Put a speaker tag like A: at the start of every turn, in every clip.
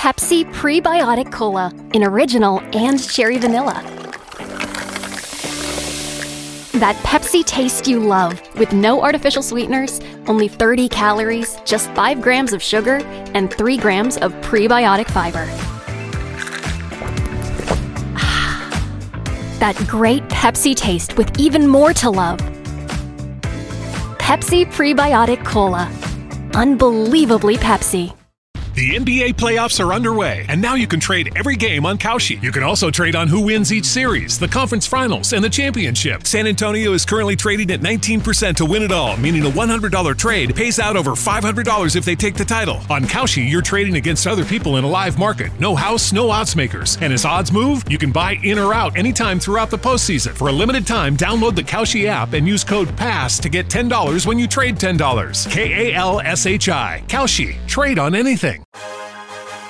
A: Pepsi Prebiotic Cola in original and cherry vanilla. That Pepsi taste you love with no artificial sweeteners, only 30 calories, just 5 grams of sugar, and 3 grams of prebiotic fiber. That great Pepsi taste with even more to love. Pepsi Prebiotic Cola. Unbelievably Pepsi.
B: The NBA playoffs are underway, and now you can trade every game on Kalshi. You can also trade on who wins each series, the conference finals, and the championship. San Antonio is currently trading at 19% to win it all, meaning a $100 trade pays out over $500 if they take the title. On Kalshi, you're trading against other people in a live market. No house, no odds makers. And as odds move, you can buy in or out anytime throughout the postseason. For a limited time, download the Kalshi app and use code PASS to get $10 when you trade $10. K-A-L-S-H-I. Kalshi. Trade on anything.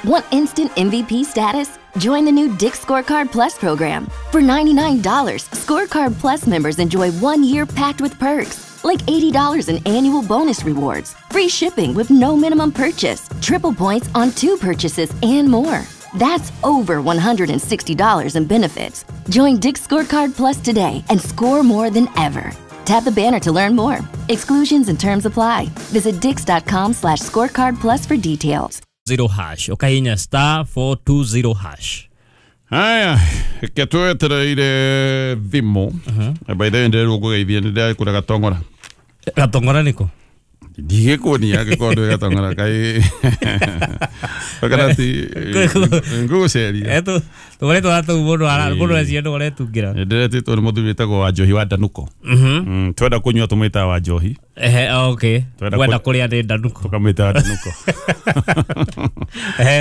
C: Want instant MVP status? Join the new Dick's Scorecard Plus program. For $99, Scorecard Plus members enjoy 1 year packed with perks, like $80 in annual bonus rewards, free shipping with no minimum purchase, triple points on 2 purchases, and more. That's over $160 in benefits. Join Dick's Scorecard Plus today and score more than ever. Tap the banner to learn more. Exclusions and terms apply. Visit dicks.com/scorecard plus for details.
D: 0 hash. Ukahinya star 420 hash.
E: Haya, ketwetereire thimu. By the way, ndĩrerwo ngũgeithie nĩ ndĩrakũra gatong'ora.
D: Gatong'ora nĩkũ?
E: Ndigĩkuonia angĩkorwo ndũĩ gatong'ora kaĩ kana ti ngũgũceria.
D: Tũkoretwo na tũu mũndũ eciria nĩ ũretungĩra.
E: Ndĩretĩtwo nĩ mũthuri wĩtagwo Wanjohi wa Ndanuko. Twenda kũnyua tũmwĩtaga Wanjohi.
D: Ehe, okay. Wenda kũrĩa nĩ Ndanuko.
E: Tũkamwĩtaga Ndanuko.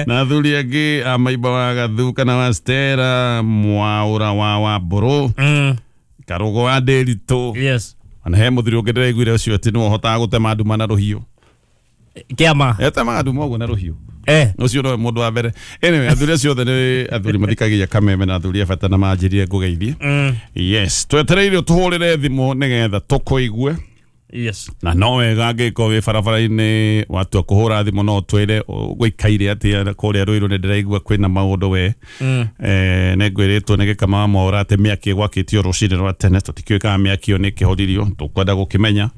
E: Na athuri angĩ a Maimba wa Gathu kana wa Stella, Mwaũra wa Wambũrũ, Karũgo wa Ndĩritũ.
D: Yes.
E: Ona he mũthuri ũngĩ ndĩraiguire ũcio atĩ nĩwe ũhotaga gũtema nduma na rũhiũ.
D: Kĩama.
E: Etemaga nduma ũguo na rũhiũ. Ũcio nowe mũndũ wa mbere. Anyway, athuri acio othe nĩ athuri mathikagia kameme na athuri a bata na manjĩrire ngũgeithie. Yes, twetereire tũhũrĩre thimũ nĩgetha tũkũigue.
D: Yes.
E: Na no wega angĩkorwo wĩ barabara-inĩ watua kũhũra thimũ no ũtwĩre gũikaire atĩa kũrĩa Rũirũ nĩ ndĩraigua kwĩna maũndũ we. Nĩ ngwĩrĩtwo nĩ Gĩkama wa Mwaũra atĩ mĩaki ĩgwakĩtio rũcinĩ rwa tene tũtikĩũĩ kana mĩaki ĩyo nĩ ĩkĩhoririo tũkwenda gũkĩmenya.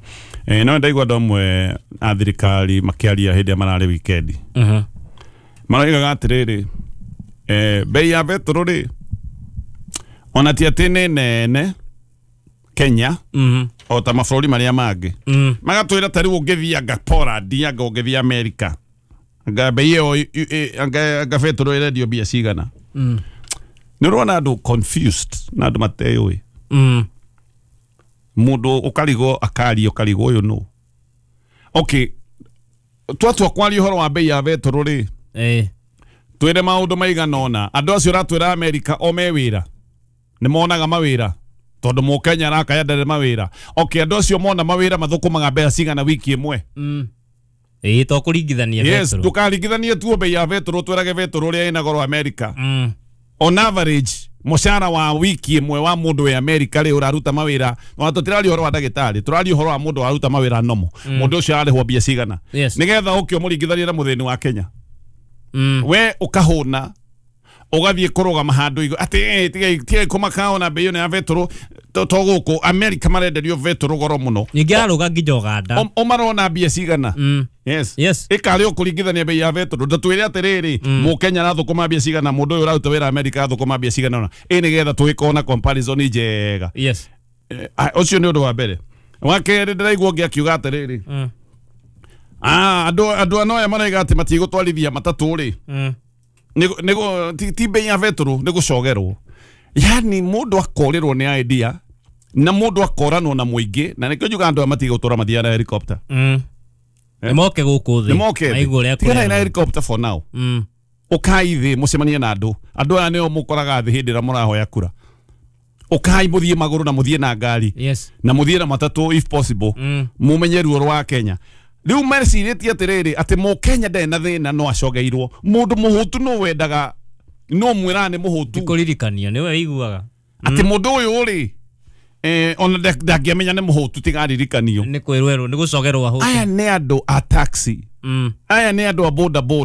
E: No ndaigua andũ amwe a thirikari makĩaria hĩndĩ ĩrĩa mararĩ wikendi. Maroigaga atĩrĩrĩ, bei ya betũrũ rĩ ona ti atĩ nĩ nene Kenya o ta mabũrũri marĩa mangĩ. Magatwĩra ta rĩu ũngĩthiĩ anga Poland, anga ũngĩthiĩ America, anga bei ĩyo anga betũrũ ĩrendio mbia cigana. Nĩ ũrona andũ confused na andũ mateyũĩ. Mũndũ ũkarigwo akaria ũkarigwo ũyũ nũ. Okay, twatua kwaria ũhoro wa bei ya betũrũ rĩ, twĩre maũndũ maigana ũna. Andũ acio ũratwĩra America o me wĩra nĩ monaga mawĩra tondũ mũkenya arakaya ndarĩ mawĩra. Okay, andũ acio mona mawĩra mathũkũmaga mbeca cigana wiki ĩmwe.
D: To kũringithania
E: Yes,
D: betũrũ.
E: ndũkaringithanie tuo bei ya betũrũ twĩrage betũrũ ũrĩa ĩna goro America. On average mũcara wa wiki ĩmwe wa mũndũ wĩ America rĩ ũraruta mawĩra, na tũtiraria ũhoro wa ndagĩtarĩ, tũraria ũhoro wa mũndũ waruta mawĩra nomo. Mũndũ ũcio ararĩhwo mbia cigana. Nĩgetha ũke ũmũringithanie na mũthĩni wa Kenya. We ũkahũna ũgathiĩ kũrũgama handũ igũ atĩ tigai kũmaka ona bei ĩno ya betũrũ to gũkũ America marenderio betũrũ goro mũno.
D: Ningĩ ararũga nginya Uganda.
E: Ũmarona mbia cigana. Yes.
D: Yes.
E: Ĩkarĩ ũkũringithania bei ya betũrũ ndũtwĩre atĩrĩrĩ mũkenya arathũkũma mbia cigana mũndũ ũyũ ũraruta wĩra America arathũkũma mbia cigana ũna. Ĩ nĩgetha tũgĩkorwo na comparison njega.
D: Yes.
E: Ũcio nĩ ũndũ wa mbere. Wa kerĩ ndĩraigua ũngĩ akiuga atĩrĩrĩ. Andũ ano aya maraiga atĩ matigũtwarithia matatũ rĩ. Ti bei ya betũrũ nĩ gũcogerwo. Yani mũndũ akorĩrwo nĩ idea na mũndũ akoranwo na mũingĩ na nĩkĩo njugaga andũ aya matigũtũra mathiaga na helicopter.
D: Nĩ moke gũkũ thĩ.
E: Nĩ moke thĩ.
D: Maigua ũrĩa
E: Tiganai na
D: kũrerwo.
E: helicopter for now. Ũkai thĩ mũcemanie na andũ. Andũ aya nĩo mũkoraga thĩ hĩndĩ ĩrĩa mũrahoya kura. Ũkai mũthiĩ magũrũ na mũthiĩ na ngari.
D: Yes.
E: Na mũthiĩ na matatũ if possible. Mũmenye ruo rwa Kenya. Rĩu mecirĩtie atĩrĩrĩ atĩ mũkenya ndarĩ na thĩna no acogeirwo. Mũndũ mũhũtu no wendaga no mwĩraga nĩ mũhũtu.
D: Kũririkanio nĩwe wĩiguaga.
E: Atĩ mũndũ ũyũ rĩ ona ndangĩamenya nĩ mũhũtu tiga aririkanio.
D: Nĩ kwĩrwo nĩ gũcogerwo ahũtu.
E: Aya nĩ andũ a taxi. Aya nĩ andũ a boda boda.